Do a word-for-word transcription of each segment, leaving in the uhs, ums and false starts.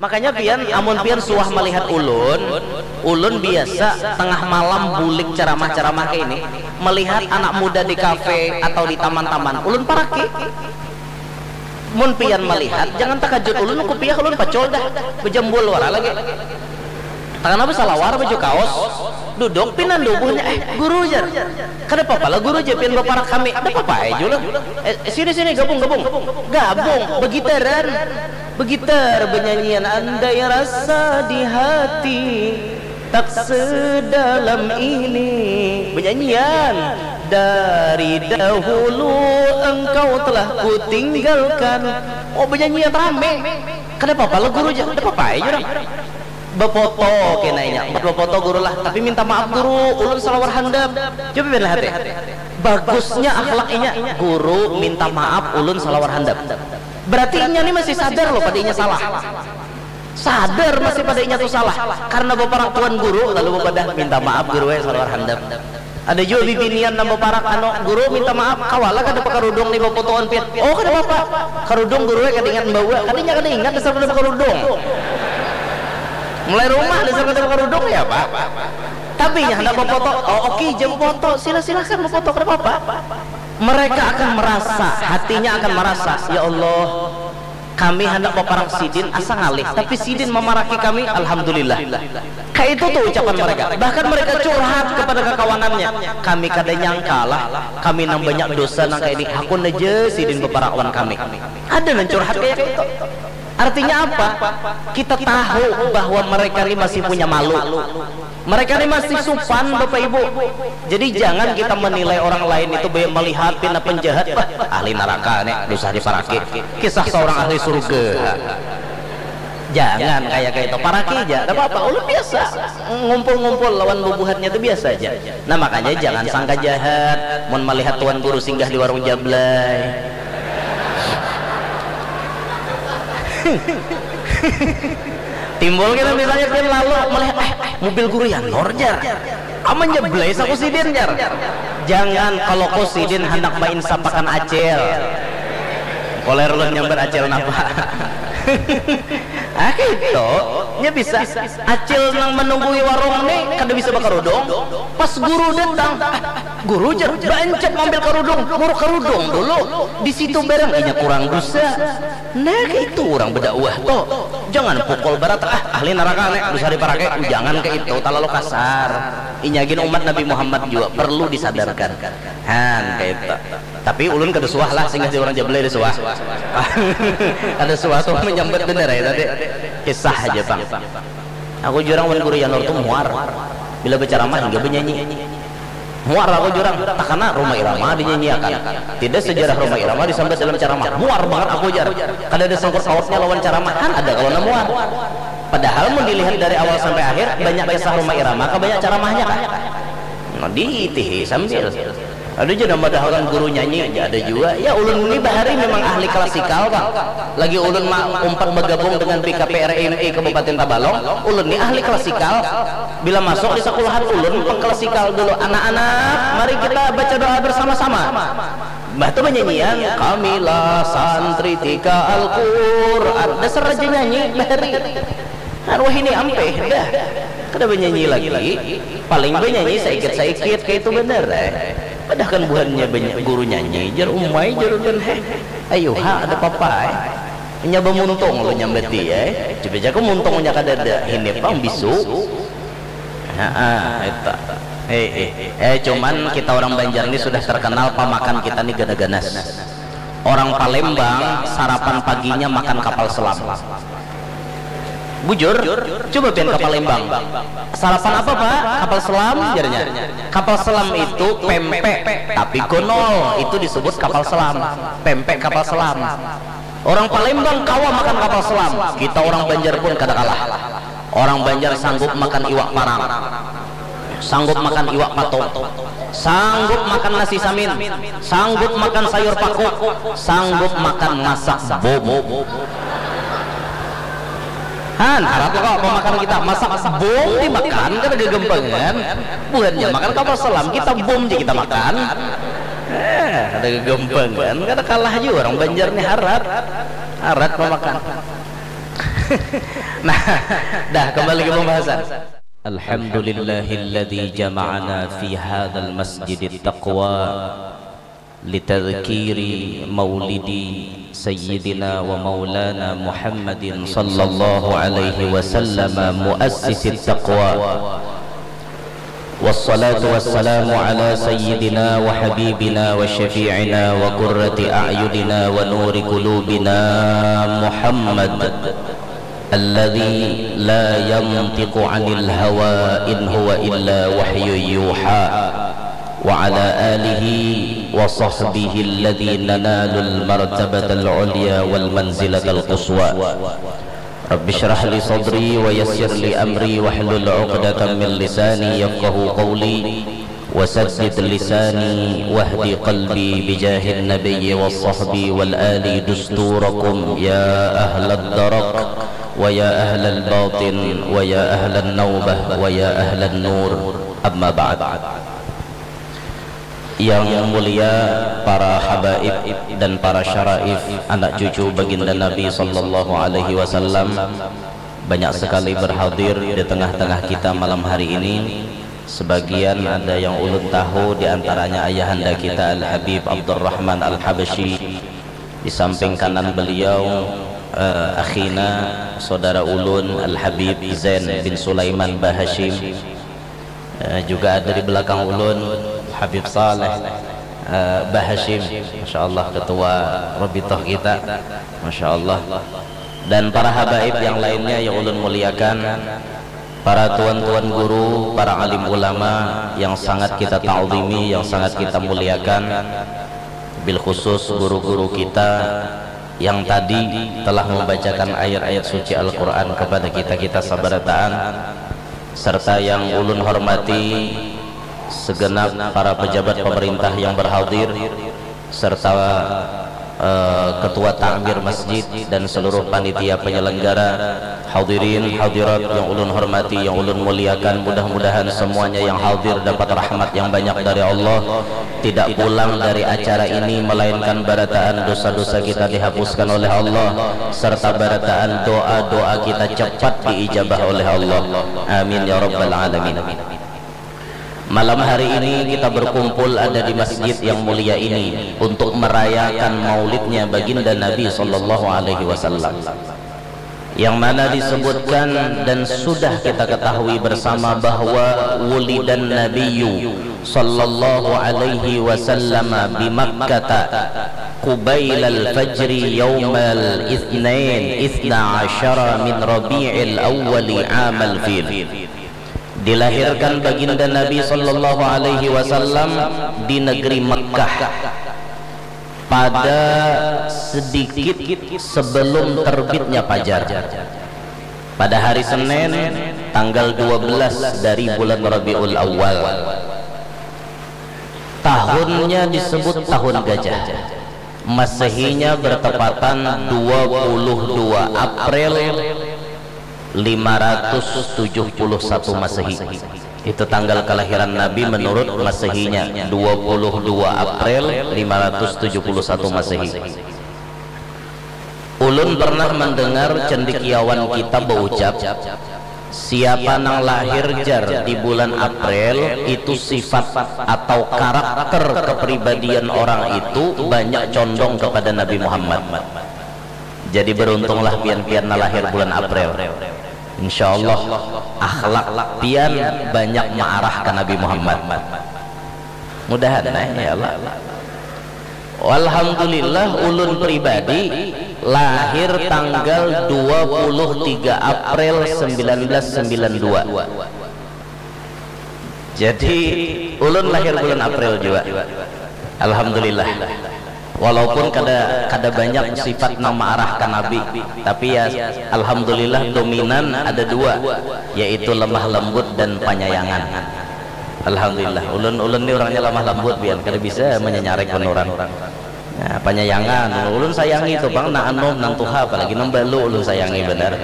Makanya pian, amun pian suah malihat ulun, ulun biasa tengah malam bulik ceramah-ceramah kaini, melihat anak muda di kafe atau di taman-taman, ulun paraki. Mun pian melihat, jangan takajut ulun, kupiah ulun pacul dah, bejambul wara lagi. Tangan apa salawar, baju kaos, duduk pinan dubuhnya, eh guru jar. Kada papa lah guru, jar pian baparak kami. Kada papa ai jua lah. Eh, sini sini, gabung gabung. Gabung, begitaran. Begitar benyanyian andai rasa di hati tak sedalam ini. Benyanyian dari dahulu engkau telah kutinggalkan. Oh, benyanyian rame. Kada papa lah guru jar. Kada papa ai jua urang. Befoto kena inya, buat befoto guru lah, tapi minta maaf guru, ulun salawar handap. Coba pian lihat deh. Bagusnya akhlak inya, guru minta maaf, ulun salawar handap. Berarti inya ni masih sadar loh pada inya salah. Sadar masih pada inya tu salah. Karena baparak tuan guru, lalu bapadah, minta maaf guru eh, salawar handap. Ada jua bibinian nang baparak, anu, guru minta maaf, kawa lah kada bakarudung ni bafotoan pian. Oh, kada papa. Karudung guru eh kada ingat membawa. Kada, inya kada ingat dasar kada bakarudung. Mulai rumah dasar kada bakarudung ya, Pak. Tapi inya handak bafoto. Oh, oke, jar bafoto. Sila, silakan bafoto, kada papa. Mereka akan merasa, hatinya akan merasa, ya Allah, kami handak baparak sidin asa ngalih, tapi sidin mamaraki kami, alhamdulillah. Kaitu tu ucapan mereka. Bahkan mereka curhat kepada kakawanannya, kami kada nyangka lah, kami nang banyak dosa nang kaya ini, hakun aja sidin baparak wan kami. Ada nang curhat kaya kaitu. Artinya apa? Kita tahu bahwa mereka ni masih punya malu. Mereka ni masih supan, Bapak Ibu. Jadi jangan kita menilai orang lain itu, banyak melihat pina penjahat, bah, ahli neraka ni, dosa diparaki. Kisah seorang ahli surga. Jangan kayak kayak itu, paraki aja, tidak apa-apa. Ulun biasa ngumpul-ngumpul lawan bubuhannya itu biasa aja. Nah, makanya jangan sangka jahat mun melihat tuan guru singgah di warung Jablay. Timbul kita misalnya pian lalu melihat, eh, mobil guru Yanur jar. Aman ja belai saku sidin jar. Jangan, kalau ku sidin handak mainsapakan acil. Koler ulun nyambat acil napa. Ah, gitu. Nya bisa. Acil nang menunggui warung ni kada bisa bakarudung. Pas guru datang, ah, guru jar, baancap mambil karudung, muruk karudung dulu. Di situ barang inya kurang dosa. Nah, kaitu urang badakwah tu. Jangan pukul barata, ah, ahli naraka nih, bisa diparake. Jangan kaitu, talalu kasar. Inya gin umat Nabi Muhammad jua, perlu disadarkan. Han, kaitu. Tapi ulun kada suah lah singgah di urang Jablay, kada suah. Kada suah tu manyambat banar ai tadi. Kisah haja pang. Aku jurang wan Guru Yanur tu muar. Bila bacaramah hingga banyanyi. Muar aku jurang, takana Rhoma Irama dinyanyiakan. Tidak sejarah Rhoma Irama disambat dalam caramah. Muar bangat aku jar. Kada ada sangkut pautnya lawan caramah. Han ada kalu nang muar. Padahal mun dilihat dari awal sampai akhir, banyak kisah Rhoma Irama kah banyak caramahnya kah? Nah, diitihi sambil. Ada ja nang madahakan guru nyanyi, ja ada jua. Ya, ulun ni bahari memang ahli klasikal pang. Lagi ulun ma-, umpat bagabung dengan B K P R M I Kabupaten Tabalong, ulun ni ahli klasikal. Bila masuk di sekolahan ulun pengklasikal dulu, anak-anak, mari kita baca doa bersama-sama. Mbah tu banyanyian, kamilah santri tika Al-Quran. Dasar raja nyanyi, bahari. Kan wahini ampih, dah. Kada banyanyi lagi. Paling banyanyi saikit-saikit, kaitu banar, eh. Padahkan buhannya banyak guru nyanyi, jar umai, jar ulun, heh. Ayuha, ada papa, eh. Inya bamuntung ulun nyambati, eh. Coba jaku muntungnya kadada, hini pang bisu. Haa, itu. Eh, eh. Eh, cuman kita orang Banjar ni sudah terkenal pamakan kita ni gana-ganas. Orang Palembang sarapan paginya makan kapal selam. Bujur, coba pian ke Palembang. Sarapan apa, Pak? Kapal selam, jarnya. Kapal selam itu pempek, tapi gonol, itu disebut kapal selam. Pempek kapal selam. Orang Palembang kawa makan kapal selam. Kita orang Banjar pun kada kalah. Orang Banjar sanggup makan iwak parang. Sanggup makan iwak patung. Sanggup makan nasi samin. Sanggup makan sayur paku. Sanggup makan masak bom. Han, harap kok pemakan kita. Masak bom dimakan kada gagampangan. Buhannya makan kapal selam, kita bom ja kita makan. Eh, kada gagampangan, kada kalah jua orang Banjar ni harat. Harat pemakan. Nah, dah, kembali ke pembahasan. Alhamdulillahilladzi jama'ana fi hadzal masjidit taqwa litadzkiri maulidi sayyidina wa maulana Muhammadin sallallahu alaihi wasallam muassisit taqwa. Wassalatu wassalamu ala sayyidina wa habibina wa syafi'ina wa qurrati a'yunina wa nuri qulubina Muhammad alladzi la yantiqu 'anil hawa in huwa illa wahyu yuha, wa ala alihi wa sahbihi alladzi nanalul martabatal ulya wal manzilatal quswa. Rabbi shrah li sadri wa yassir li amri wahlul 'uqdatam min lisani yafqahu qawli. Wasaddid lisani wahdi qalbi bijahin nabiyyi was sahbi wal ali dusturakum ya ahlad darak wa ya ahlal batin wa ya ahlan naubah wa ya ahlan nur. Amma ba'd. Yang mulia para habaib dan para syaraif, anak cucu baginda Nabi sallallahu alaihi wasallam, banyak sekali berhadir di tengah-tengah kita malam hari ini. Sebagian ada yang ulun tahu, di antaranya ayahanda kita Al-Habib Abdurrahman Al-Habsyi. Di samping kanan beliau, eh, akhina, saudara ulun Al-Habib Zain bin Sulaiman Bahashim. Eh, juga ada di belakang ulun Habib Saleh, eh, Bahashim. Masya Allah, ketua Rabitah kita. Masya Allah. Dan para habaib yang lainnya yang ulun muliakan, para tuan-tuan guru, para alim ulama yang sangat kita ta'zimi, yang sangat kita muliakan, bil khusus guru-guru kita yang tadi telah membacakan ayat-ayat suci Al-Quran kepada kita-kita sabarataan, serta yang ulun hormati segenap para pejabat pemerintah yang berhadir, serta, eh, ketua takmir masjid dan seluruh panitia penyelenggara, hadirin hadirat yang ulun hormati, yang ulun muliakan, mudah-mudahan semuanya yang hadir dapat rahmat yang banyak dari Allah, tidak pulang dari acara ini melainkan barataan dosa-dosa kita dihapuskan oleh Allah, serta barataan doa-doa kita cepat diijabah oleh Allah. Amin ya rabbal alamin. Malam hari ini kita berkumpul ada di masjid yang mulia ini untuk merayakan maulidnya baginda Nabi sallallahu alaihi wasallam, yang mana disebutkan dan sudah kita ketahui bersama bahwa wulidan nabiyyu sallallahu alaihi wasallam bi Makkata qubailal fajri yaumal itsnain itsna asyara min rabi'il awwali amal fil. Dilahirkan baginda Nabi sallallahu alaihi wasallam di negeri Mekah pada sedikit sebelum terbitnya fajar, pada hari Senin tanggal dua belas dari bulan Rabiul Awal. Tahunnya disebut tahun gajah. Masehinya bertepatan dua puluh dua April lima ratus tujuh puluh satu Masehi. Itu tanggal kelahiran Nabi menurut Masehinya, dua puluh dua April lima ratus tujuh puluh satu Masehi. Ulun pernah mendengar cendekiawan kita baucap, siapa nang lahir jar di bulan April, itu sifat atau karakter kepribadian orang itu banyak condong kepada Nabi Muhammad. Jadi beruntunglah pian-pian nalahir bulan April. Insya Allah akhlak pian banyak maarah ka Nabi Muhammad. Mudahan nah, ya Allah. Alhamdulillah ulun pribadi lahir tanggal dua puluh tiga April sembilan belas sembilan dua. Jadi ulun lahir bulan April jua. Alhamdulillah. Walaupun kada kada banyak sifat nang maarah ka Nabi, tapi ya alhamdulillah dominan ada dua, yaitu lemah lembut dan panyayangan. Alhamdulillah, ulun ulun ni urangnya lemah lembut bian, kada bisa menyanyarek orang. Nah, panyayangan, ulun sayangi tu pang nang anum nang tuha, apalagi nang balu ulun sayangi banar.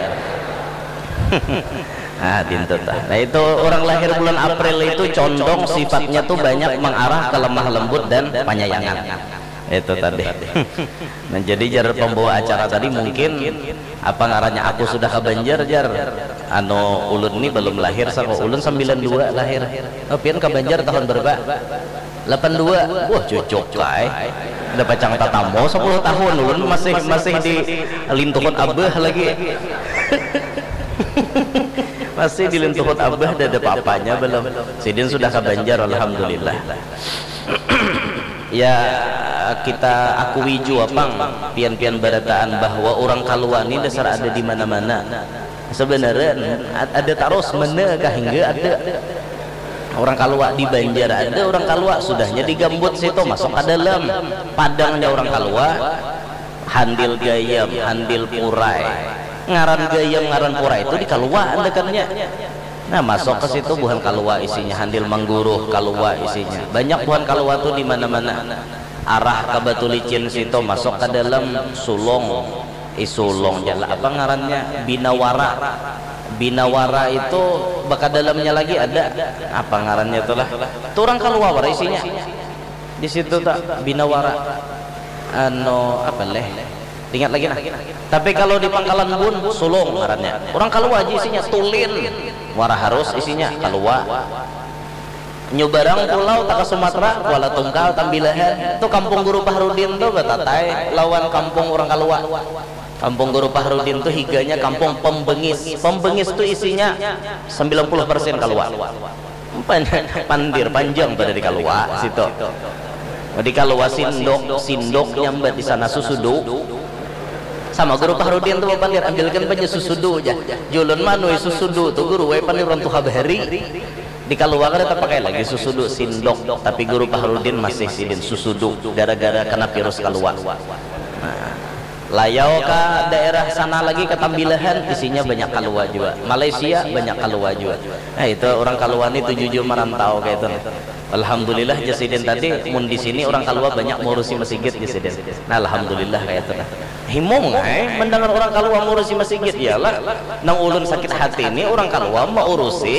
Nah, dintu tah. Nah, itu orang lahir bulan April itu condong sifatnya tu banyak mengarah ke lemah lembut dan panyayangan. Itu tadi. Nah, jadi jar pembawa acara tadi mungkin apa ngarannya aku sudah ke Banjar jar. Anu ulun ni belum lahir sako ulun sembilan dua lahir. Oh, pian ke Banjar tahun berapa? Delapan dua. Wah, cocok kai. Ada pacang tatamu sepuluh tahun ulun masih masih di lintuhun abah lagi. Masih di lintuhun abah ada papanya belum. Sidin sudah ke Banjar alhamdulillah. Ya, kita akui jua pang pian-pian barataan bahwa orang Kalua ni dasar ada di mana-mana. Sebenarnya ada tarus mana kah hingga ada orang Kalua di Banjar ada orang Kalua sudahnya di Gambut situ masuk ke dalam padangnya orang Kalua handil gayam handil purai ngaran gayam ngaran purai itu di Kalua andakannya. Nah, masuk ke situ buhan Kalua isinya, handil mangguruh Kalua isinya. Banyak buhan Kalua tuh di mana-mana. Arah ke Batu Licin situ masuk ke dalam sulung. Eh, sulung jalan apa ngarannya? Binawara. Binawara itu baka dalamnya lagi ada apa ngarannya tuh lah. Tuh orang Kalua wara isinya. Di situ tak Binawara. Anu apa leh? Ingat lagi nah. Tapi kalau di Pangkalan Bun, Sulung ngarannya. Orang Kalua aja isinya, Tulin. Muara Harus isinya, Kalua. Nyu barang pulau taka Sumatera, Kuala Tungkal, Tambilahan. Itu kampung Guru Pahrudin tuh batatai lawan kampung orang Kalua. Kampung Guru Pahrudin tuh higanya kampung Pembengis. Pembengis tuh isinya sembilan puluh persen Kalua. Pandir panjang pada di Kalua situ. Di Kalua sindok, sindok nyambat di sana susudu. Sama Guru Pahrudin tuh pandir ambilkan banyak susudu aja. Julun manui susudu tuh guru wae pandir orang tuha bahari. Di Kalua kada terpakai lagi susudu sindok, tapi Guru Pahrudin masih sidin susudu gara-gara kena virus Kalua. Nah, Layau ka daerah sana lagi ke Tambilahan isinya banyak Kalua jua. Malaysia banyak Kalua jua. Nah, itu orang Kalua ni tujuh-juh merantau kayak itu. Alhamdulillah jasidin tadi mun di sini orang Kalua banyak mengurusi masjid jasidin. Nah, alhamdulillah kayak itu. Nah. Himung eh mendengar orang Kalua mengurusi masjid ya lah. Nang ulun sakit hati ini orang Kalua mengurusi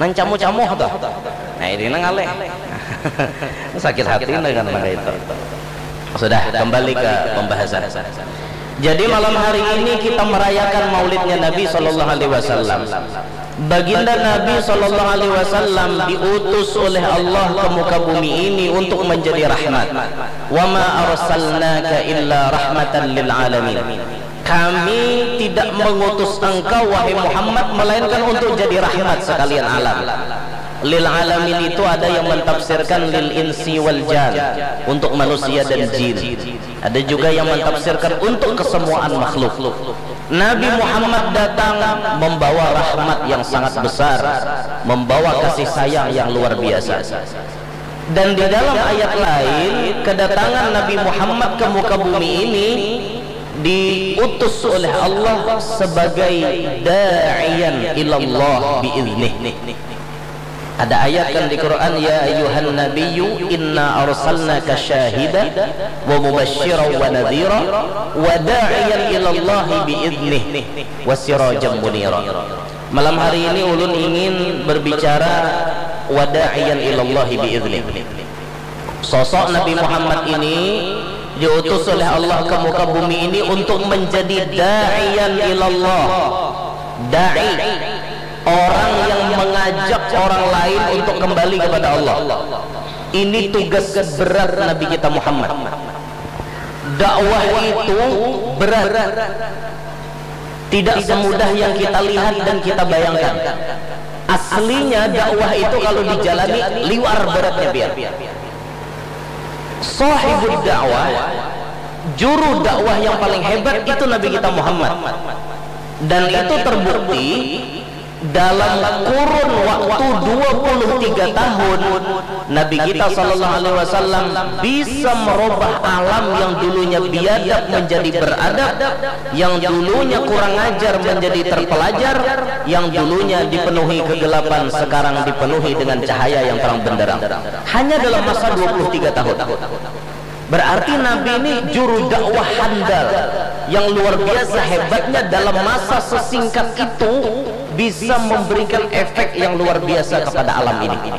Nang camuh-camuh tuh. Nah, ini nang aleh. Sakit hati dengan mangga itu. Sudah, kembali ke pembahasan. Jadi malam hari ini kita merayakan maulidnya Nabi Sallallahu Alaihi Wasallam. Baginda Nabi Sallallahu Alaihi Wasallam diutus oleh Allah ke muka bumi ini untuk menjadi rahmat. Wa ma arsalnaka illa rahmatan lil alamin. Kami tidak mengutus engkau wahai Muhammad melainkan untuk jadi rahmat sekalian alam. Lil alamin itu ada yang mentafsirkan lil insi wal jan untuk manusia dan jin. Ada juga yang mentafsirkan untuk kesemuaan makhluk. Nabi Muhammad datang membawa rahmat yang sangat besar, membawa kasih sayang yang luar biasa. Dan di dalam ayat lain, kedatangan Nabi Muhammad ke muka bumi ini diutus oleh Allah sebagai da'iyan ilallah biiznih. Ada ayat kan di Quran, ya ayuhan nabiyyu inna arsalnaka syahidan wa mubasysyiran wa nadhira wa da'iyan ilallahi biiznih wa sirajan munira. Malam hari ini ulun ingin berbicara wada'iyan ilallahi biiznih. Sosok Nabi Muhammad ini diutus oleh Allah ke muka bumi ini untuk menjadi da'iyan ilallah. Da'i, orang yang mengajak orang lain untuk kembali kepada Allah. Ini tugas berat Nabi kita Muhammad. Dakwah itu berat. Tidak semudah yang kita lihat dan kita bayangkan. Aslinya dakwah itu kalau dijalani liwar beratnya biar. Sahibud dakwah, juru dakwah yang paling hebat itu Nabi kita Muhammad. Dan itu terbukti dalam kurun waktu dua puluh tiga tahun Nabi kita sallallahu alaihi wasallam bisa merubah alam yang dulunya biadab menjadi beradab, yang dulunya kurang ajar menjadi terpelajar, yang dulunya dipenuhi kegelapan sekarang dipenuhi dengan cahaya yang terang benderang. Hanya dalam masa dua puluh tiga tahun. Berarti Nabi ini juru dakwah handal yang luar biasa hebatnya dalam masa sesingkat itu bisa memberikan efek yang luar biasa kepada alam ini.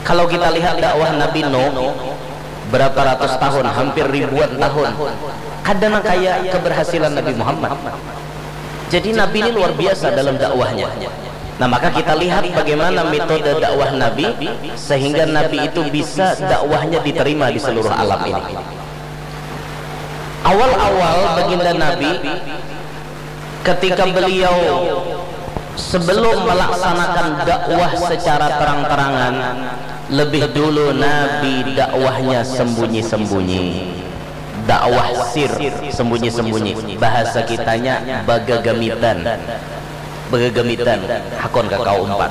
Kalau kita lihat dakwah Nabi Nuh, Berapa ratus tahun, hampir ribuan tahun, kada nang kaya keberhasilan Nabi Muhammad. Jadi Nabi ini luar biasa dalam dakwahnya. Nah, maka kita lihat bagaimana metode dakwah Nabi sehingga Nabi itu bisa dakwahnya diterima di seluruh alam ini. Awal-awal baginda Nabi, ketika beliau sebelum melaksanakan dakwah secara terang-terangan, lebih dulu Nabi dakwahnya sembunyi-sembunyi. Dakwah sir, sembunyi-sembunyi. Bahasa kitanya bagagamitan. Bagagamitan, hakun ka kau umpat.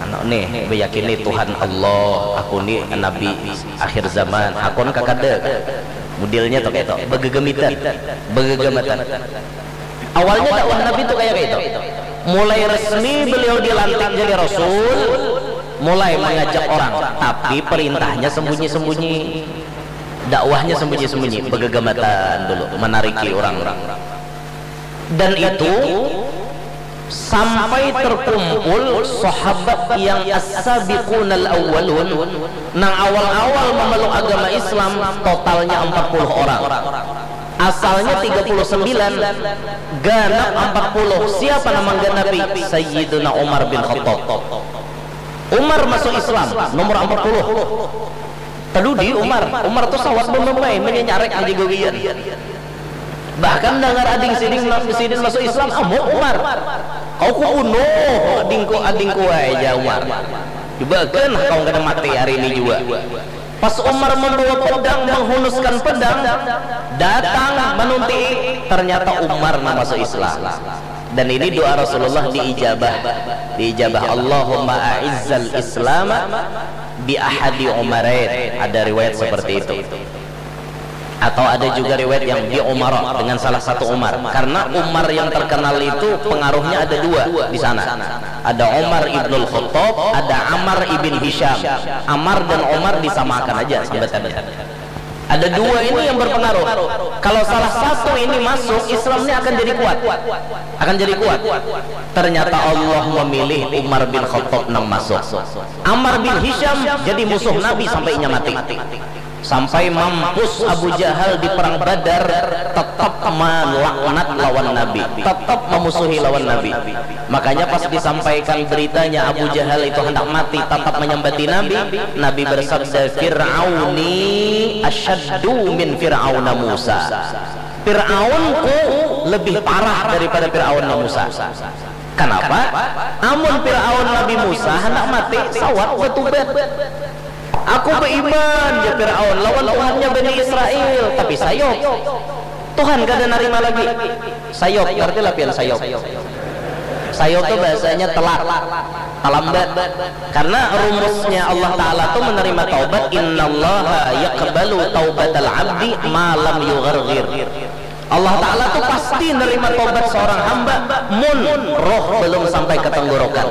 Anu nih, beyakini Tuhan Allah, aku ni nabi akhir zaman, hakun ka kada. Modelnya tu kaya itu, bagagamitan, bagagamatan. Awalnya dakwah Nabi tu kaya itu. Mulai resmi beliau dilantik jadi rasul, mulai mengajak orang, tapi perintahnya sembunyi-sembunyi. Dakwahnya sembunyi-sembunyi, bagagamatan dulu, menariki orang-orang. Dan itu sampai terkumpul sahabat yang as-sabiqunal awwalun, nang awal-awal memeluk agama Islam, totalnya empat puluh orang. Asalnya tiga puluh sembilan, ganap empat puluh. Siapa nama ganapi? Sayyiduna Umar bin Khattab. Umar masuk Islam, nomor empat puluh. Tadudi Umar, Umar tu sawat bememai, menyanyarek aja gawian. Bahkan dangar ading sidin, sidin masuk Islam, amuk Umar. Kau ku bunuh adingku, adingku ai, jar Umar. Cuba kan kau kada mati hari ini jua. Pas Umar membawa pedang, menghunuskan pedang, datang menunti, ternyata Umar nang masuk Islam. Dan ini doa Rasulullah diijabah. Diijabah, Allahumma a'izzal Islama bi ahadi Umarain. Ada riwayat seperti itu. Atau ada juga riwayat yang bi Umara, dengan salah satu Umar. Karena Umar yang terkenal itu pengaruhnya ada dua di sana. Ada Umar ibnul Khattab, ada Amar ibn Hisham. Amar dan Umar disamakan aja sambatannya. Ada dua ini yang berpengaruh. Kalau salah satu ini masuk, Islam ini akan jadi kuat. Akan jadi kuat. Ternyata Allah memilih Umar bin Khattab nang masuk. Amar bin Hisham jadi musuh Nabi sampai inya mati. Sampai mampus Abu Jahal di perang Badar, tetap melaknat lawan Nabi, tetap memusuhi lawan Nabi. Makanya pas disampaikan beritanya Abu Jahal itu hendak mati, tetap menyambati Nabi, Nabi bersabda, "Fir'auni asyaddu min Fir'auna Musa." Fir'aunku lebih parah daripada Fir'aunnya Musa. Kenapa? Amun Fir'aun Nabi Musa hendak mati, sawat bertubat. Aku beriman, ya Fir'aun, lawan Tuhannya Bani Israel, tapi sayop. Tuhan kada narima lagi. Sayop, ngerti lah pian sayop? Sayop tu bahasanya telat, talambat. Karena rumusnya Allah Ta'ala tu menerima taubat, innallaha yaqbalu taubatal abdi ma lam yugharghir. Allah Ta'ala tu pasti nerima tobat seorang hamba mun roh belum sampai ke tenggorokan.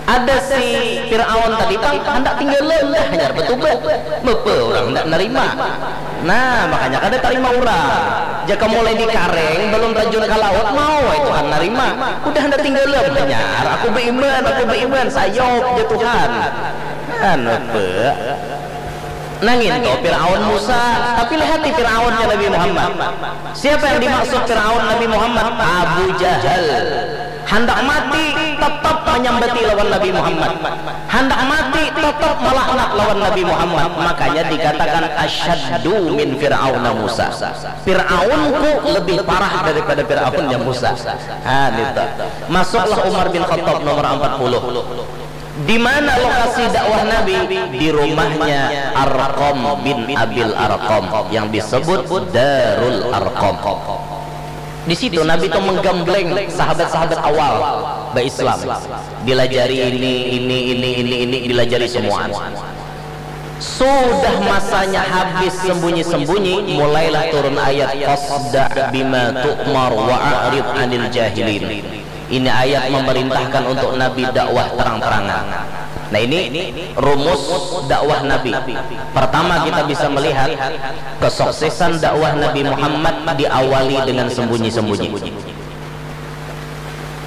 Ada si Fir'aun tadi pang handak tinggalan dah hanyar bertobat. Bapa orang handak nerima. Nah, makanya kada tarima orang. Jaka mulai di kareng belum terjun ke laut mau ai Tuhan nerima. Udah handak tinggalan hanyar aku beriman, aku beriman, sayop ja Tuhan. Nah, bapa. Nangin tu Fir'aun Musa, tapi lihati Fir'aunnya Nabi Muhammad. Siapa yang dimaksud Fir'aun Nabi Muhammad? Abu Jahal. Handak mati tetap menyambati lawan Nabi Muhammad. Handak mati tetap melaknat lawan Nabi Muhammad. Makanya dikatakan asyaddu min Fir'auna Musa. Fir'aunku lebih parah daripada Fir'aunnya Musa. Ha, gitu. Masuklah Umar bin Khattab nomor empat puluh. Di mana lokasi dakwah Nabi? Di rumahnya Arqam bin Abil Arqam yang disebut Darul Arqam. Di situ Nabi itu menggambleng sahabat-sahabat awal berislam. Dilajari ini, ini, ini, ini, ini, dilajari semua. Sudah masanya habis sembunyi-sembunyi, mulailah turun ayat, "Fasda' bima tu'mar wa a'rid 'anil jahilin." Ini ayat memerintahkan untuk Nabi dakwah terang-terangan. Nah, ini rumus dakwah Nabi. Pertama, kita bisa melihat kesuksesan dakwah Nabi Muhammad diawali dengan sembunyi-sembunyi.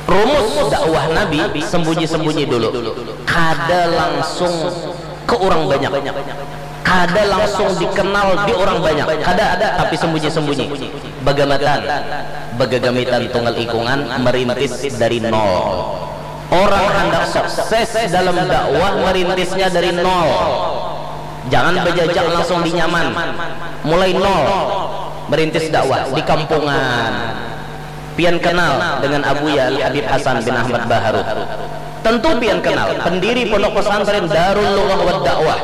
Rumus dakwah Nabi sembunyi-sembunyi dulu. Kada langsung ke orang banyak. Kada langsung dikenal di orang banyak, kada, tapi sembunyi-sembunyi. Bagamatan, bagagamitan tunggal ikungan, merintis dari nol. Orang handak sukses dalam dakwah, merintisnya dari nol. Jangan bejajak langsung di nyaman. Mulai nol, merintis dakwah di kampungan. Pian kenal dengan Abuya Al Habib Hasan bin Ahmad Baharu? Tentu pian kenal, pendiri Pondok Pesantren Darul Lughah wad Dakwah.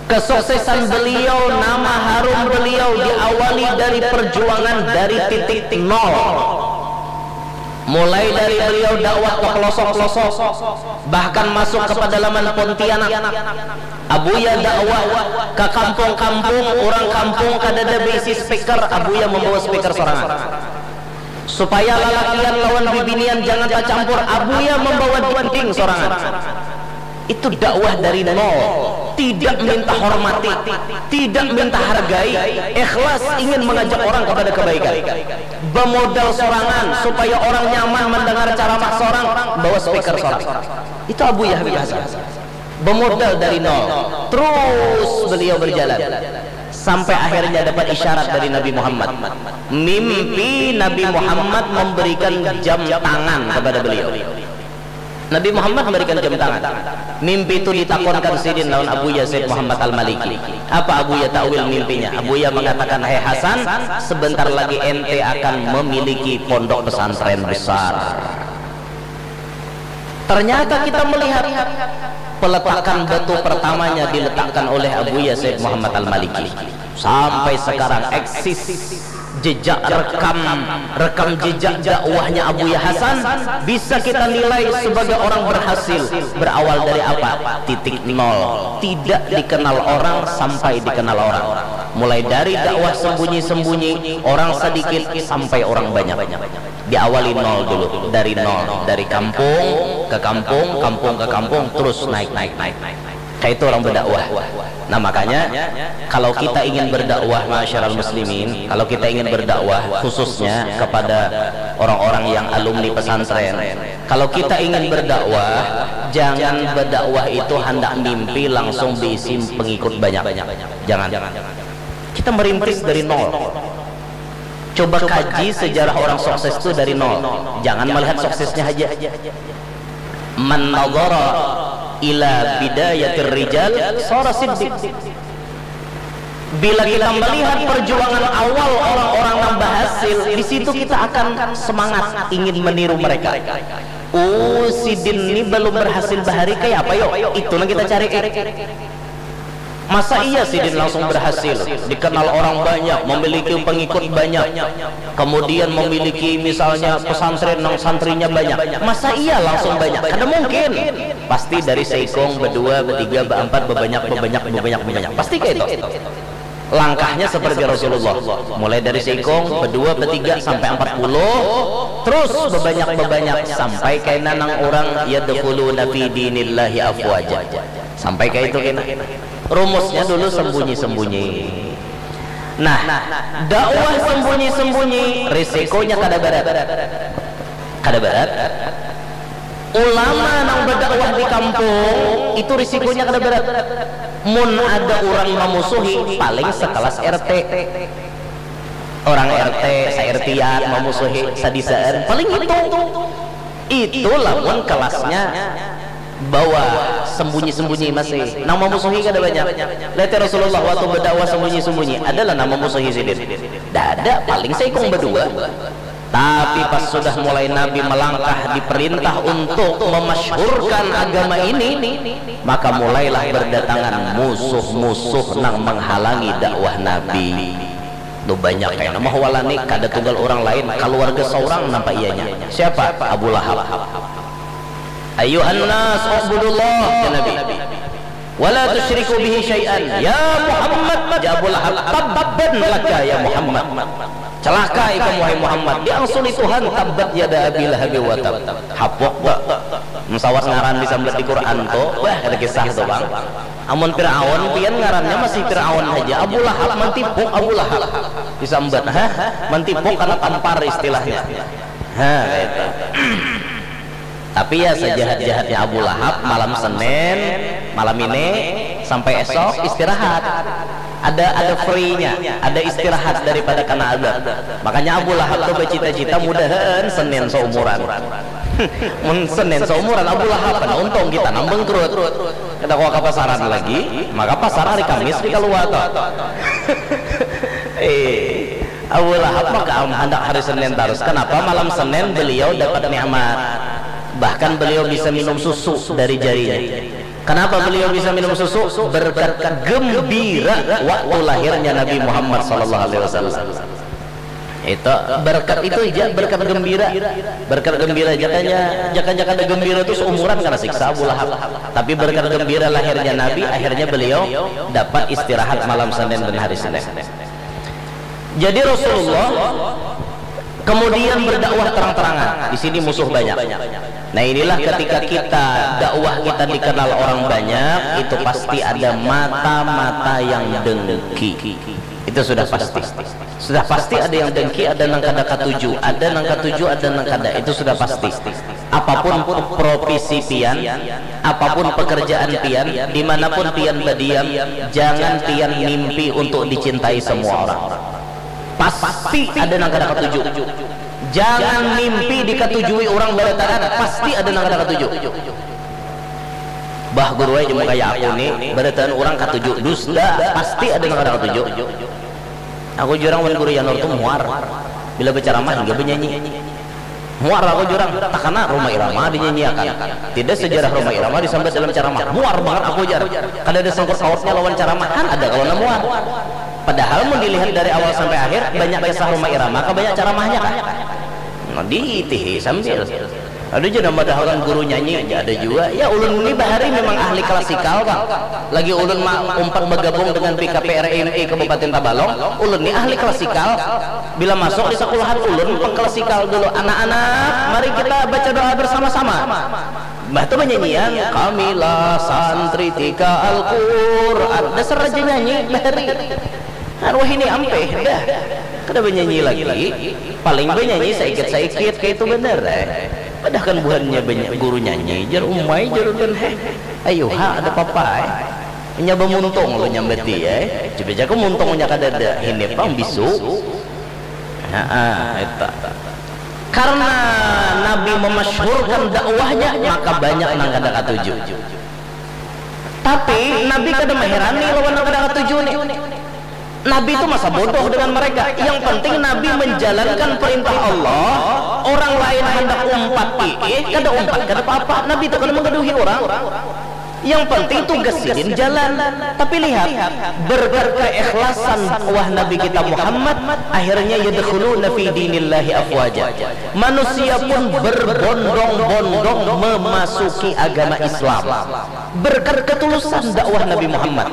Kesuksesan beliau, nama harum beliau diawali dari perjuangan dari titik nol. Mulai dari beliau dakwah ke pelosok-pelosok, bahkan masuk ke pedalaman Pontianak. Abuya dakwah ke kampung-kampung, orang kampung kadada beisi speaker, Abuya membawa speaker sorangan. Supaya lalakian lawan bibinian jangan tacampur, Abuya membawa dinding sorangan. Itu dakwah dari nol, tidak minta hormati, tidak minta hargai, ikhlas ingin mengajak orang kepada kebaikan. Bemodal sorangan supaya orang nyaman mendengar ceramah sorang, bawa speaker sorang. Itu Abuya Habib Hasan. Bemodal dari nol, terus beliau berjalan sampai akhirnya dapat isyarat dari Nabi Muhammad. Mimpi Nabi Muhammad memberikan jam tangan kepada beliau. Nabi Muhammad memberikan jam tangan. Mimpi itu ditakonkan sidin lawan Abuya Said Muhammad Al-Maliki. Apa Abuya takwil mimpinya? Abuya mengatakan, "Hai Hasan, sebentar lagi ente akan memiliki pondok pesantren besar." Ternyata kita melihat peletakan batu pertamanya diletakkan oleh Abuya Said Muhammad Al-Maliki. Sampai sekarang eksis jejak rekam, rekam jejak dakwahnya Abuya Hasan, bisa kita nilai sebagai orang berhasil. Berawal dari apa? Titik nol. Tidak dikenal orang sampai dikenal orang. Mulai dari dakwah sembunyi-sembunyi, orang sedikit sampai orang banyak. Diawali nol dulu, dari nol, dari kampung ke kampung, kampung ke kampung, terus naik, naik, naik. Kayak itu orang berdakwah. Nah, makanya kalau kita ingin berdakwah, ma'asyiral muslimin, kalau kita ingin berdakwah khususnya kepada orang-orang yang alumni pesantren, kalau kita ingin berdakwah, jangan berdakwah itu handak mimpi langsung diisi pengikut banyak. Jangan. Kita merintis dari nol. Coba kaji sejarah orang sukses itu dari nol. Jangan melihat suksesnya aja. Man nadhara ila bidayatir rijal sara siddiq. Bila kita melihat perjuangan awal orang-orang yang berhasil, di situ kita akan semangat ingin meniru mereka. Oh, sidin ini belum berhasil bahari, kayak apa yo? Itu yang kita cari. Masa iya sidin langsung berhasil, dikenal orang banyak, memiliki pengikut banyak, kemudian memiliki misalnya pesantren yang santrinya banyak? Masa iya langsung banyak? Kada mungkin. Pasti dari seikung, bedua, betiga, beempat, bebanyak, bebanyak, bebanyak, bebanyak. Pasti kayak itu. Langkahnya seperti Rasulullah, mulai dari seikung, bedua, betiga, sampai empat puluh, terus bebanyak, bebanyak, sampai kaina nang orang yadkhuluna fi dinillahi afwaja. Sampai kayak itu kena. Rumusnya dulu sembunyi-sembunyi. Nah, dakwah sembunyi-sembunyi risikonya kada berat. Kada berat. Ulama nang berdakwah di kampung itu risikonya kada berat. Mun ada orang memusuhi, paling sekelas R T. Orang R T, sa-R T-an memusuhi sadisaan, paling itu. Itu lamun kelasnya bawah, sembunyi-sembunyi masih. Nang memusuhi kada banyak. Lihat ya Rasulullah waktu berdakwah sembunyi-sembunyi, adalah nang memusuhi sidin. Dada, paling seikung berdua. Tapi pas sudah mulai Nabi melangkah, diperintah untuk memasyhurkan agama ini, maka mulailah berdatangan musuh-musuh nang menghalangi dakwah Nabi. Tuh banyak kayak nama hawalani, kada tunggal orang lain, keluarga seorang nampak ianya. Siapa? Abu Lahab. Ayuhan nas, ubudullah, ya Nabi. Wala tusyriku bihi syai'an. Ya Muhammad, ya Abu Lahab, tabban laka ya Muhammad. Celaka ikam wahai Muhammad, diangsuli Tuhan, tabbat yada Abi Lahab wa tab. Hapok tak? Mesawat ngaran disambat di Quran tu, wah kada kisah tu bang. Amun Fir'aun, pian ngarannya masih Fir'aun haja. Abu Lahab, mantipuk Abu Lahab. Disambat, hah? Mantipuk karena tampar istilahnya. Hah, itu. Tapi ya sejahat-jahatnya Abu Lahab, malam Senin, malam ini, Sampai esok istirahat. Ada ada free-nya, ada istirahat daripada kena azab. Makanya Abu Lahab tuh bercita-cita mudahan Senin seumuran. Mun Senin seumuran Abu Lahab, kan untung kita nang bangkrut. Kada kawa ka pasaran lagi, maka pasar hari Kamis di kaluar tuh. Eh, Abu Lahab maka handak hari Senin terus. Kenapa malam Senin beliau dapat nikmat? Bahkan beliau bisa minum susu dari jarinya. Kenapa beliau bisa minum susu? Berkat gembira waktu lahirnya Nabi Muhammad sallallahu alaihi wasallam. Itu berkat itu aja, berkat gembira. Berkat gembira, jakanya, jaka-jaka ada gembira itu seumuran kena siksa Abu Lahab. Tapi berkat gembira lahirnya Nabi, akhirnya beliau dapat istirahat malam Senin dan hari Senin. Jadi Rasulullah kemudian berdakwah terang-terangan. Di sini musuh banyak. Nah, inilah ketika kita dakwah kita dikenal orang banyak, itu pasti ada mata-mata yang dengki. Itu sudah pasti. Sudah pasti ada yang dengki, ada nang kada katuju, ada nang katuju, ada nang kada. Itu sudah pasti. Apapun profesi pian, apapun pekerjaan pian, dimanapun pian badiam, jangan pian mimpi untuk dicintai semua orang. Pasti ada nang kada katuju. Jangan mimpi dikatujui orang barataan, pasti ada nang kada katuju. Bah guru aja mau kayak aku nih, barataan orang katuju, dusta, pasti ada nang kada katuju. Aku jurang wan guru Yanur tuh muar bila berceramah hingga bernyanyi. Muar aku jurang, takana Rhoma Irama dinyanyiakan. Tidak sejarah Rhoma Irama disambat dalam ceramah. Muar banget aku jar. Kada ada sangkut pautnya lawan ceramah, kan ada kalau nang muar. Padahal mun dilihat dari awal sampai akhir, banyak kisah Rhoma Irama, ka banyak ceramahnya kan. Nah, diitihi sambil. Ada je nambah dahakan guru nyanyi, ada juga. Ya ulun ni bahari memang ahli klasikal bang. Lagi ulun ma umpat bergabung dengan P K P R M I Kabupaten Tabalong, ulun ni ahli klasikal. Bila masuk di sekolahan ulun pengklasikal dulu. Anak-anak, mari kita baca doa bersama-sama. Bah tu banyanyian, kamilah santri tika Al-Quran. Dasar raja nyanyi, bahari. Arwah ini ampeh dah. Kada banyanyi lagi. Paling banyanyi saikit-saikit kayak itu bener eh. Padahkan buhannya banyak guru nyanyi, jar umai jar ulun heh. Ayo ha ada papa eh. Nyaba muntung lo nyambati eh. Coba jaga muntungnya kada ada. Ini pang bisu. Nah, ah, eta. Karena Nabi memasyhurkan dakwahnya, maka banyak nang kada katuju. Tapi Nabi kada mengherani lawan nang kada katuju nih. Nabi itu masa bodoh dengan mereka. Yang penting Nabi menjalankan perintah Allah. Orang lain hendak umpat ih, kada umpat kada apa-apa. Nabi itu kada menggaduhi orang. Yang penting tugas sidin jalan. Tapi lihat, berkat keikhlasan dakwah Nabi kita Muhammad, akhirnya yadkhuluna fi dinillahi afwaja. Manusia pun berbondong-bondong memasuki agama Islam. Berkat ketulusan dakwah Nabi Muhammad.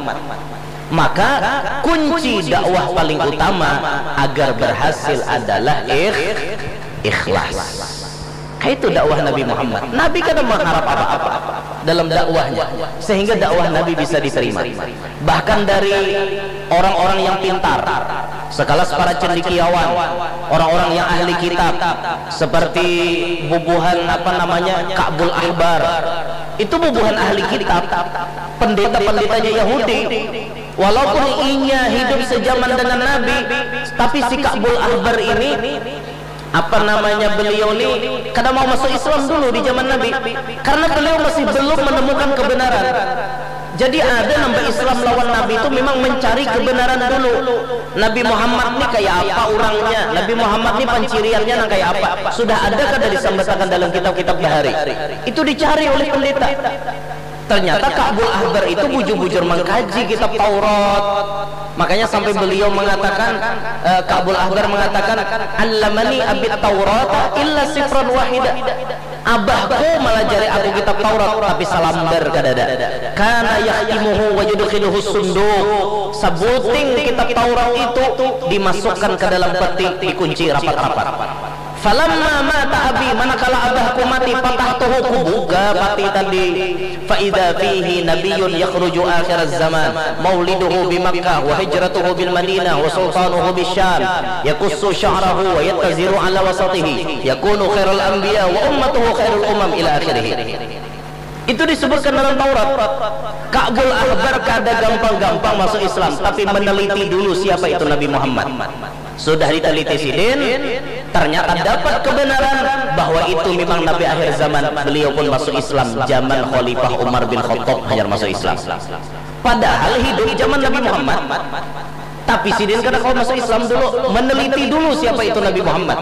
Maka kunci dakwah paling utama agar berhasil adalah ikh, ikhlas. Kayak itu dakwah Nabi Muhammad. Nabi kada mengharap apa-apa dalam dakwahnya, sehingga dakwah Nabi bisa diterima. Bahkan dari orang-orang yang pintar, sekelas para cendikiawan, orang-orang yang ahli kitab, seperti bubuhan apa namanya Ka'bul Ahbar, itu bubuhan ahli kitab, pendeta-pendetanya Yahudi. Walaupun inya hidup sejaman dengan Nabi, tapi si Ka'bul Ahbar ini apa namanya beliau ni kada mau masuk Islam dulu di zaman Nabi karena beliau masih belum menemukan kebenaran. Jadi ada nambah Islam lawan Nabi itu memang mencari kebenaran dulu. Nabi Muhammad ni kayak apa orangnya? Nabi Muhammad ni panciriannya nang kayak apa? Sudah ada kada disambatakan dalam kitab-kitab bahari? Itu dicari oleh pendeta. Ternyata Ka'bul Ahbar itu bujur-bujur mengkaji kitab Taurat. Makanya sampai beliau mengatakan, eh, Ka'bul Ahbar mengatakan, "Allamani abit Taurata illa sifran wahida." Abahku melajari aku kitab Taurat tapi salambar kadada. Kana yahtimuhu wa yudkhiluhu sunduq. Sabuting kitab Taurat itu dimasukkan ke dalam peti, dikunci rapat-rapat. Falamma mata abi, manakala abahku mati, patahtuhu, kubuka pati tadi. Fa idza fihi nabiyyun yakhruju akhiraz zaman, mauliduhu bi Makkah wa hijratuhu bil Madinah wa sultanuhu bisyam, yakussu sya'rahu wa yattaziru ala wasatihi, yakunu khairal anbiya wa ummatuhu khairul umam ila akhirih. Itu disebutkan dalam Taurat. Ka'bul Ahbar kada gampang-gampang masuk Islam, tapi meneliti dulu siapa itu Nabi Muhammad. Sudah diteliti sidin, ternyata dapat kebenaran bahwa itu memang Nabi akhir zaman. Beliau pun masuk Islam zaman Khalifah Umar bin Khattab, hanyar masuk Islam. Padahal hidup zaman Nabi Muhammad. Tapi sidin kada kawa masuk Islam dulu, meneliti dulu siapa itu Nabi Muhammad.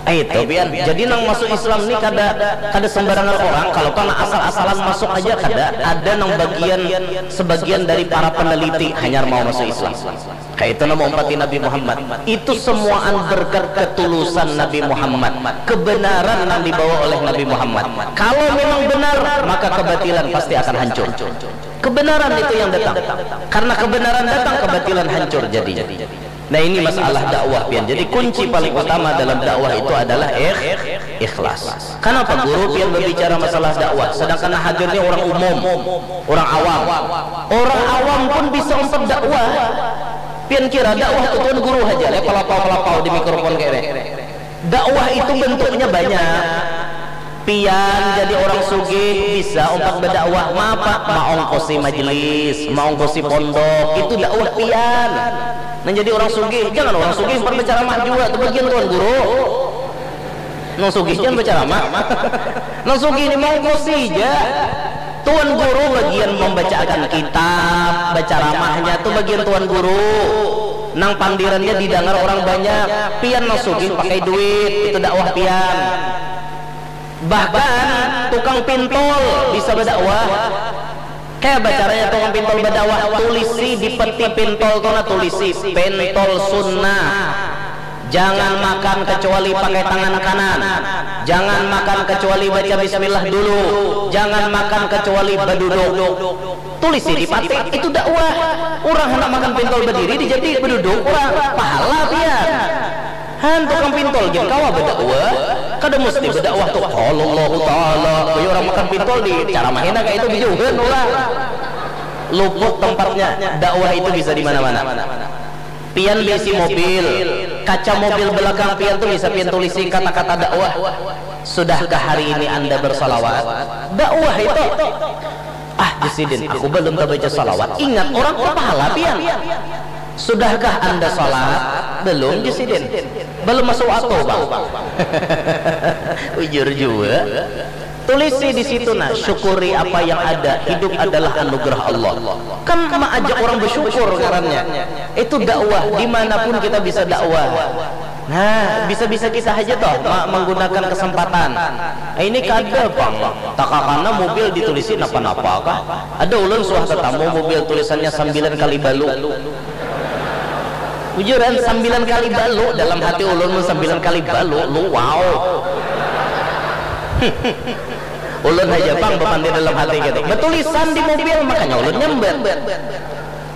Eh, itu pian. Jadi nang masuk Islam ni kada, kada sembarangan orang. Kalau pernah asal-asalan masuk aja kada. Ada nang bagian, sebagian dari para peneliti hanyar mau masuk Islam. Kayak itu nama umpati Nabi Muhammad. Itu semuaan berkat ketulusan Nabi Muhammad. Kebenaran yang dibawa oleh Nabi Muhammad. Kalau memang benar, maka kebatilan pasti akan hancur. Kebenaran itu yang datang. Karena kebenaran datang, kebatilan hancur jadinya. Nah, ini masalah dakwah pian. Jadi kunci paling utama dalam dakwah itu adalah ikh, ikhlas. Kenapa guru pian berbicara masalah dakwah, sedangkan hadirnya orang umum, orang awam. Orang awam pun bisa umpat dakwah. Pian kira dakwah itu tuan guru aja, le pelapau-pelapau di mikrofon kayak ini. Dakwah itu bentuknya banyak. Pian jadi orang sugih bisa umpat berdakwah, mapa? Maongkosi majelis, maongkosi pondok, itu dakwah pian. Nah, jadi orang sugih, jangan orang sugih umpat berceramah juga, itu bagian tuan guru. Nang sugih jangan berceramah. Nang sugih ini maongkosi aja. Tuan guru bagian membacakan kitab, berceramahnya tuh bagian tuan guru. Nang pandirannya didengar orang banyak. Pian nang sugih pakai duit, itu dakwah pian. Bahkan tukang pintol bisa berdakwah. Kayak bacaranya tukang pintol berdakwah, tulisi di peti pintol tuh, nah, tulisi pintol sunnah. Jangan makan kecuali pakai tangan kanan. Jangan makan kecuali baca bismillah dulu. Jangan makan kecuali beduduk. Tulisi di pati, itu dakwah. Orang hendak makan pintol berdiri, dijadi beduduk, orang pahala pian. Han, tukang pintol gin kawa berdakwah. Kada mesti berdakwah tuh, qala Allahu Ta'ala. Bagi orang makan pintol di ceramahina kayak itu, bijauhan orang. Luput tempatnya. Dakwah itu bisa di mana-mana. Pian bisi mobil, kaca mobil belakang pian tuh bisa pian tulisi kata-kata dakwah. Sudahkah hari ini Anda bersalawat? Dakwah itu. Ah, jar sidin, aku belum tabaca salawat. Ingat, orang tu pahala pian. Sudahkah Anda salat? Belum, jar sidin. Belum masuk waktu, Bang. Bujur jua. Tulisi di situ, nah, syukuri apa yang ada. Hidup adalah anugerah Allah. Kan maajak orang bersyukur ngarannya. Itu dakwah, dimanapun kita bisa dakwah. Nah, bisa-bisa kita aja toh ma-, menggunakan kesempatan. Eh, ini kada pang. Takakana mobil ditulisi napa-napa kah? Ada ulun suah tetamu mobil tulisannya sembilan kali balu. Bujuran, sembilan kali balu, dalam hati ulun mun sembilan kali balu, lu wow. Ulun aja pang bapandir dalam hati gitu. Betulisan di mobil, makanya ulun nyambat.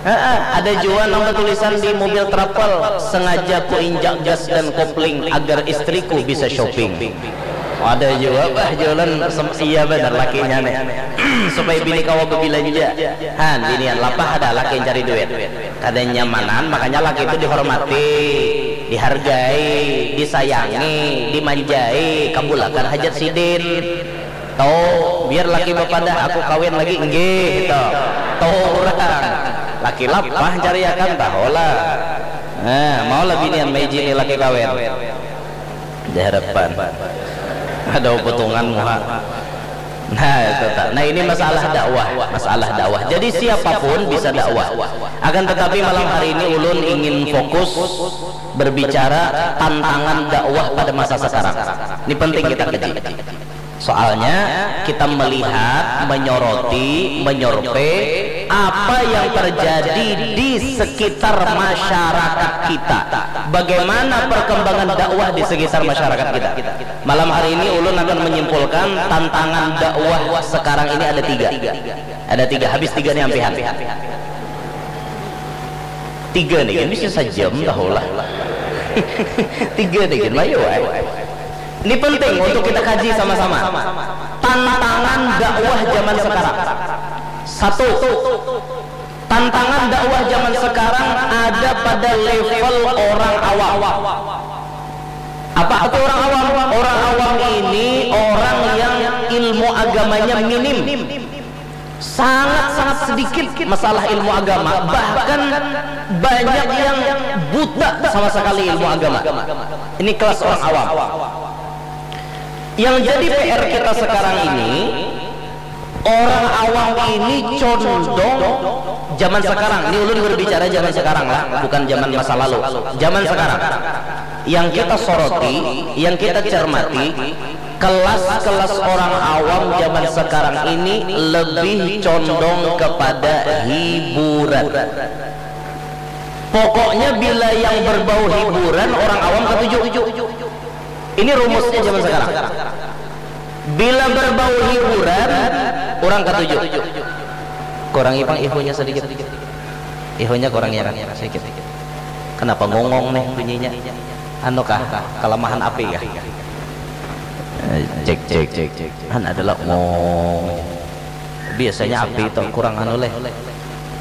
Heeh, ada jua nang batulisan di mobil travel, "Sengaja ku injak gas dan kopling agar istriku bisa shopping." Ada jua, bah, jualan sem-, iya benar lakinya nih. Supaya bini kawa bebilanja. Han, binian lapah ada laki yang cari duit. Kada nyamanan, makanya laki itu dihormati, dihargai, disayangi, dimanjai, kabulakan hajat sidin. Tuh, biar laki bapadah, "Aku kawin lagi," nggih, gitu. Tuh, urang. Laki lapah cariakan, tahulah. Nah, maulah binian maijini laki kawin. Di hadapan. Ada potongan muha. Nah, itu tak. Nah, ini masalah dakwah, masalah dakwah. Jadi siapapun bisa dakwah. Akan tetapi malam hari ini ulun ingin fokus berbicara tantangan dakwah pada masa sekarang. Ini penting kita kaji. Soalnya kita melihat, menyoroti, menyorpe apa yang terjadi di sekitar masyarakat kita. Bagaimana perkembangan dakwah di sekitar masyarakat kita. Malam hari ini ulun akan menyimpulkan tantangan dakwah sekarang ini ada tiga. Ada tiga, habis tiga nih ampihan. Tiga nih, kan bisa sajam tahulah. Tiga nih, kan mayu, eh. Ini penting untuk kita kaji sama-sama. Tantangan dakwah zaman sekarang. Satu, tantangan dakwah zaman sekarang ada pada level orang awam. Apa arti orang awam? Orang awam ini orang yang ilmu agama agamanya minim, sangat-sangat sedikit masalah ilmu agama, bahkan banyak yang buta sama sekali ilmu agama. Ini kelas orang awam. Yang jadi P R kita sekarang ini, orang awam ini condong zaman sekarang. Ini ulun berbicara zaman sekarang lah, bukan zaman masa lalu. Zaman sekarang. Yang kita soroti, yang kita cermati, kelas-kelas orang awam zaman sekarang ini lebih condong kepada hiburan. Pokoknya bila yang berbau hiburan, orang awam katuju. Ini rumusnya zaman sekarang. Bila berbau hiburan, orang katuju. Kurangi pang ihunya sedikit. Ihunya kurang ya kan sedikit. Kenapa ngongong nih bunyinya? Anu kah, kelemahan api kah? Eh, cek, cek, cek, cek. Han adalah ngong. Biasanya api itu kurang anu leh.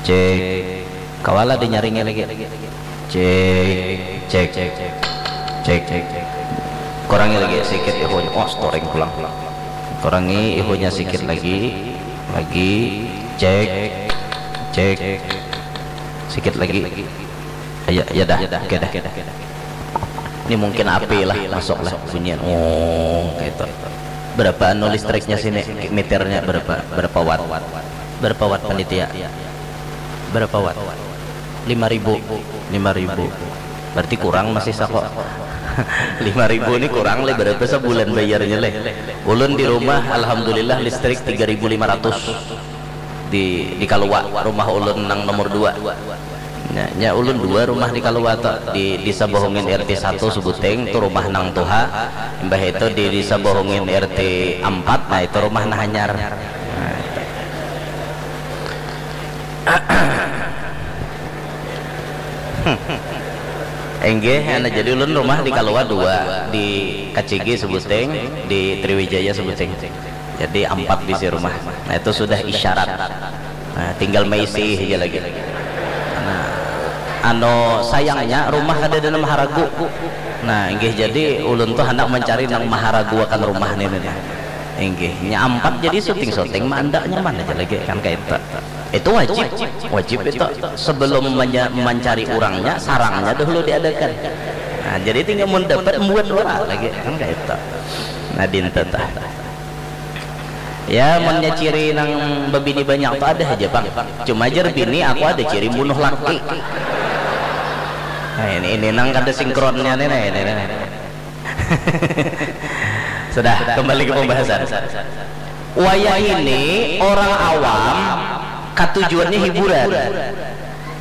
Cek. Kawala dinyaringi lagi. Cek, cek, cek, cek, cek, cek. Kurangi lagi sikit ihunya. Oh, storing pulang. Kurangi ihunya sikit lagi. Lagi. Cek, cek. Sikit lagi. Ya, ya dah. Oke dah. Ini mungkin api lah, masuk lah bunyian. Oh, gitu. Berapa anu listriknya sini? Meternya berapa? Berapa watt? Berapa watt panitia? Berapa watt? Lima ribu. Lima ribu. Berarti kurang masih sako. Lima ribu ni kurang leh, berapa sebulan bayarnya leh? Ulun di rumah alhamdulillah listrik tiga ribu lima ratus. Di, di Kalua, rumah ulun nang nomor dua. Nya, nya ulun dua rumah di Kalua tu, di Desa Bohongin R T satu Subuteng tu rumah nang tuha, imbah itu di Desa Bohongin R T empat, nah itu rumah nang hanyar. Nah, itu. Enggih, anu, jadi ulun rumah di Kalua dua, di Kacigi Subuteng, di Triwijaya Subuteng. Jadi ampat bisi rumah. Nah, itu sudah isyarat. Nah, tinggal maisi aja lagi. Nah, anu, sayangnya rumah kada ada nang maharagu. Nah, inggih, jadi ulun tuh hendak mencari nang maharagu akan rumah nih, nih, nih. Inggih, nya ampat jadi syuting-syuting mah anda nyaman aja lagi kan kayak itu. Itu wajib, wajib itu sebelum menya- mencari orangnya, sarangnya dahulu diadakan. Nah, jadi tinggal mun dapat buat orang lagi kan kayak itu. Nah, dinten tah. Ya, munnya ciri nang bebini banyak tu ada aja pang. Cuma jar bini aku ada ciri bunuh laki. Nah, ini ini nang kada sinkronnya nih, nah, ini, ini. Sudah, kembali ke pembahasan. Wayah ini orang awam katujuannya hiburan.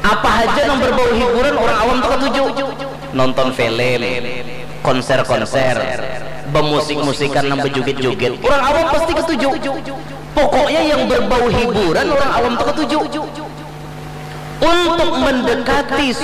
Apa aja nang berbau hiburan orang awam tuh katuju. Nonton film, konser-konser, bemusik-musikan nang bejugit-jugit, orang awam pasti ketuju. Pokoknya yang berbau hiburan orang awam tuh ketuju. Untuk mendekati